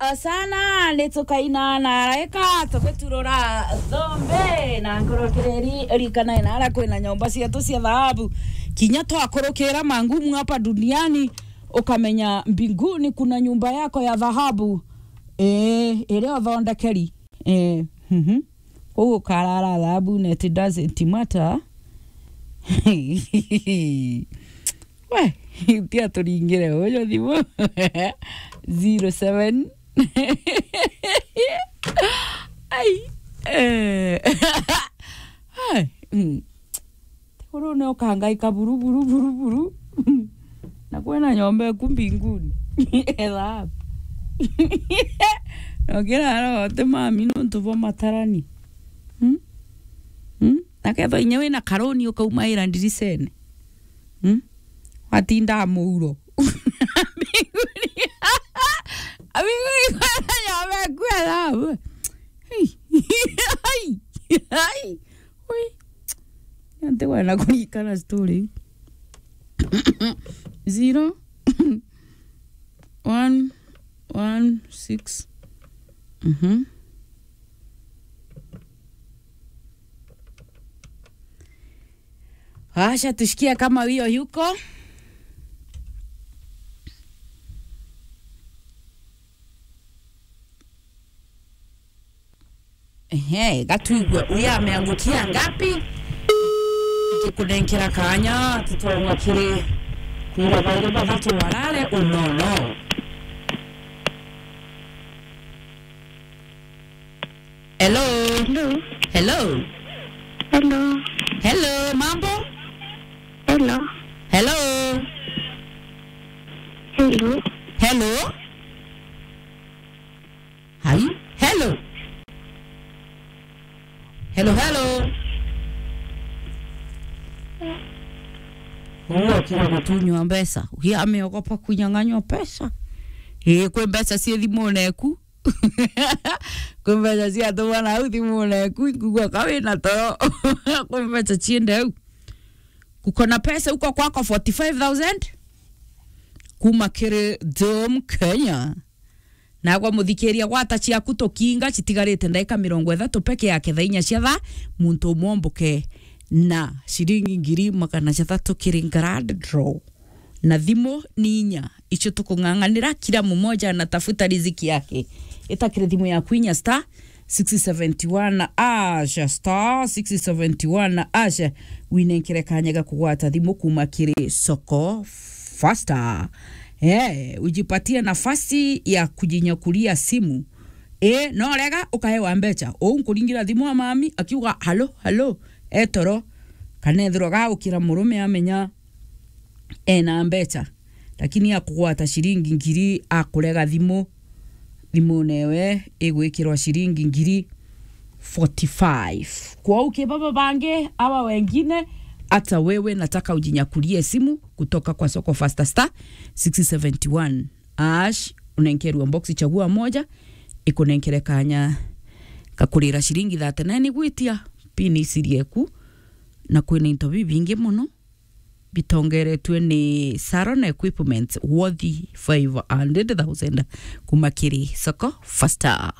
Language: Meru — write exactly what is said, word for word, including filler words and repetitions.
sana, ni tukaina na araika tugiturura thombe na nkurukiriri. Rikana inara kwina nyomba cietu cia thahabu, kinya twakurukira mangumu hapa duniani, ukamenya mbinguni kuna nyumba yako ya dhahabu, eh, iria uthondekeri. Eh, mhm. Kuu ukarara thahabu na it doesn't matter. We, tia turingire uyu thimu. Zero seven. Ai. Eh. Ai. Mm. Tiguru ni ukangaika buru, buru, buru, buru. Na kwina nyomba eku mbinguni. Etha. Nokira ara ote mami nontu bwa matarani. Hmm? Hmm? Na kethwa inya wina karuni ukaumaira ndiricene. Hmm? Watinda muuro. Mbinguni. Mbinguni kwina nyomba eku etha. Ai. Ai. Ai. Ui. Ntikwenda kurikana story iu. Zero. One, one, six. Mhm. Acha tushikie kama hiyo yuko. Ehe, gatuigwe uyu ameangukia ngapi? Ngikunenkera kanya tutongwa kiri kwira bairi bathatu warare unono. Hello? Hello? Hello? Hello? Hello, mambo? Hello? Hello? Hello? Hello? Hai? Hello? Hello, hello? Uyu okira gutunywa mbeca. Uyu ameogopa kunyang'anywa mbeca. Ii, kwi mbeca cii thimune eku. Kwi mbeca ciatumwa nau thimune eku, nkugua ka wina toro. Kwi mbeca ciende au. Kuko na pesa huko kwako forty-five thousand? Kuma kiri Dom Kenya. Nagwa muthikiria, gwata ciaku tukinga, citigarite ndaika mirongo ithatu peke yake thaa inya cia thaa, muntu umwe omboke na ciringi ngiri magana jathatu kiri grand draw. Na thimu ni inya, icio tukung'ang'anira, kila mmoja anatafuta riziki yake. Ita kiri thimu yaku inya star six seventy one ash, star six seventy one ash, winenkere kanya ga kugwata thimu kuma kiri Soko Faster. Eh, ujipatie nafasi ya kujinyakulia simu. Eh, no rega ukaewa mbecha. Uu nkuringira thimu a mami akiuga, "Halo, halo, e toro." Kana ethirwa gaukira murume amenya ena mbecha, lakini akugwata ciringi ngiri, akurega thimu, thimu newe igwikirwa ciringi ngiri forty-five. Kwou ki baba bangi, awa wengine, hata wewe nataka ujinyakulie simu kutoka kwa Soko Faster, star six seventy one ash, unenkerwa box, chagua moja, ikunenkere kanya kakurira ciringi thirty-nine gwitia pini siri eku, na kwina into bibingi muno bitongeretwe ni Saron Equipment worth five hundred thousand kuma kiri Soko Faster.